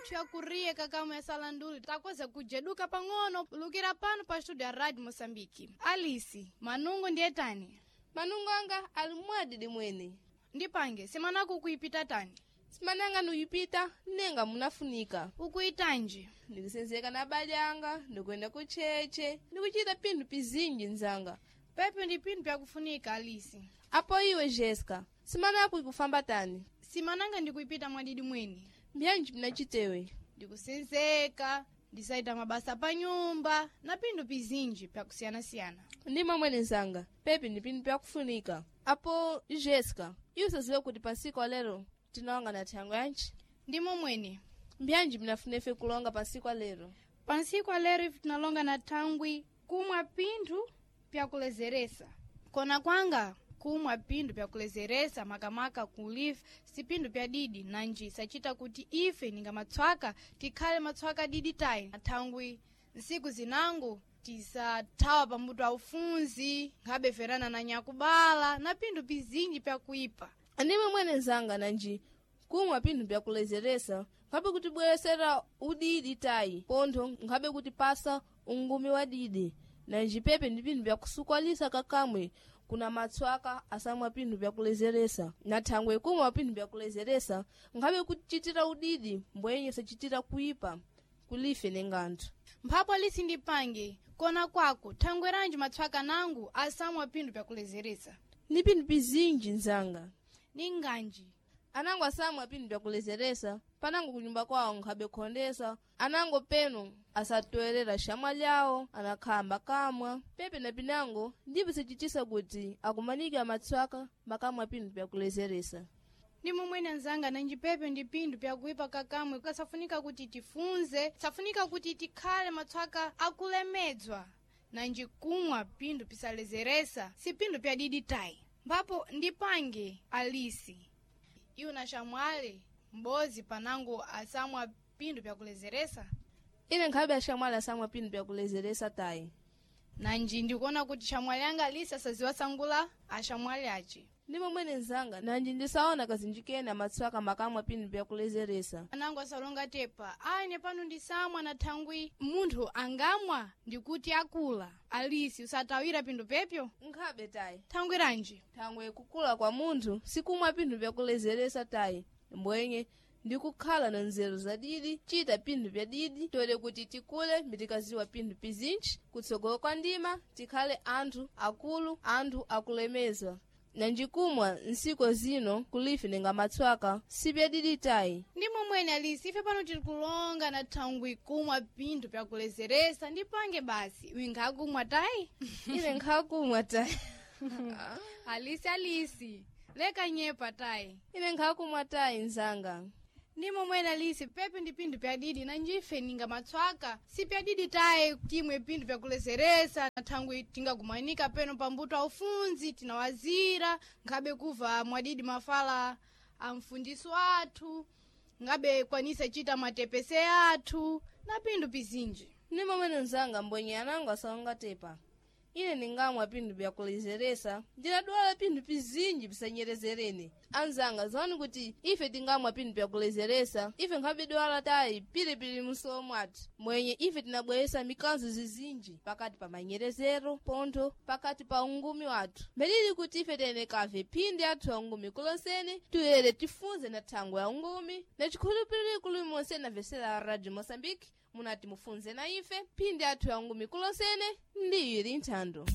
yathu yakuriye kakamwe ya salanduli takoza kujeduka pang'ono lukira pano pa studio ya Radio Moçambique. Alisi, manungo ndiye tani? Manungo anga ali mwadidi mwene. Ndipange, semanaku ukuipita tani? Simananga nuyipita nenga munafunika. Ukuitanji? Ndikusenzeka na abale anga, ndikuyenda kucheche, ndikuchita pinthu pizinji nzanga. Pepe ndi pinthu pyakufunika Alisi. Apo iwe Jessica, simanaku ikufamba tani? Simananga ndikuipita mwadidi mwene. Mbyanji pinachitewe? Ndikusenzeka, ndisaita mabasa pa nyumba na pinthu pizinji pyakusiyanasiyana. Ndima mwene nzanga, pepe ndi pinthu pyakufunika. Apo Jessica, iwe usaziwe kuti pansiku alero tinawanga na thango yanji? Ndimo mwene. Mbyanji pinafuna ife kulonga pansiku alero? Pansiku alero ife tinalonga na thangwi kumwa pinthu pyakulezeresa. Kona kwanga kumwa pinthu pyakulezeresa makamaka kulife si pinthu pya didi nanji sachita kuti ife ninga matswaka tikhale matswaka didi tayi thangwi nsiku zinango tisathawa pambuto aufunzi nkhabe ferana na nyakubala na pinthu pizinji pyakuipa. Ndimwe mwene nzanga nanji kumwa pinthu pyakulezeresa nkhabe kutibweresera udidi tayi pontho nkhabe kutipasa ungumi wa didi nanji pepe ndi pinthu pyakusukwalisa kakamwe kuna matswaka asamwa pinthu pyakulezeresa na thangwe kumwa pinthu pyakulezeresa nkhabe kuchitira udidi mbwenye sachitira kuipa kulife nenganthu. Mphapo alisi ndipange kona kwako thangwe ranji matswaka nangu asamwa pinthu pyakulezeresa. Ndi pinthu pizinji nzanga. Ninganji? Anango asamwa pinthu pyakulezeresa panango kunyumba kwawo nkhabe khondesa anango peno asatoerera xamwa lyawo anakhamba kamwa pepe na pinango ndipo sicitisa kuti akumanike amatswaka makamwa pinthu pyakulezeresa. Ndi momwene anzanga nanji pepe ndi pinthu pyakuipa kakamwe kasafunika kuti tifunze safunika kuti tikhale matswaka akulemedzwa nanji kumwa pinthu pisalezeresa si pinthu pyadidi tayi. Mphapo ndipange Alisi iwo na xamwale m'bozi panango asamwa pinthu pyakulezeresa. Ine nkhabe axamwali asamwa pinthu pyakulezeresa tayi. Nanji ndikuona kuti xamwali anga Alisi asaziwasangula axamwali ace. Ndi momwene nzanga nanji ndisaona kazinji kene amatswaka makamwa pinthu pyakulezeresa. Anango asalonga tepa aine pano ndisamwa na thangwi munthu angamwa ndikuti akula. Alisi usatawira pinthu pepyo. Nkhabe tayi. Thangwi ranji? Thangwe kukula kwa munthu sikumwa pinthu pyakulezeresa tayi mbwenye ndikukhala na nzeru zadidi chita pinthu pyadidi tole kuti tikule mitikaziwa pinthu pizinji kutsogolo kwa ndima tikhale anthu akulu anthu akulemezwa nanjikumwa nsiku zino kulife ninga matswaka sipyadidi tayi. Ndi momwene Alisi ife pano tiri kulonga na thangwi kumwa pinthu pyakulezeresa ndipange basi wingakumwa tayi. Ine nkhakumwa tayi. Alisi, Alisi leka nyepa tayi. Ine nkhakumwa tayi nzanga. Ndi momwene Alisi pepe ndi pinthu pyadidi nanjife ninga matswaka si pyadidi tayi timwe pinthu pyakulezeresa na thangwi tingakumanika peno pambuto aufunzi tinawazira nkhabe kuva mwadidi mafala a mfundisi wathu ngabe kwanisa chita matepese athu na pinthu pizinji. Ndi momwene nzanga mbwenye anango asalonga tepa. Ine ningamwa pinthu pyakulezeresa ndinadwala pinthu pizinji pisanyerezerene. Anzanga ziwani kuti ife tingamwa pinthu pyakulezeresa ife nkhabidwala tayi pilipili msowo mwathu mwenye ife tinabweresa mikanzo zizinji pakati pa manyerezero pontho pakati pa ungumi wathu mbelili kuti ife tenekave phindi athu ya ungumi kulonsene tuyere tifunze na thangwe ya ungumi na chikhulupiriro kulimonse na Radio Moçambique munati mufunze na ife phindi athu ya ungumi kulonsene ndi ili nthando.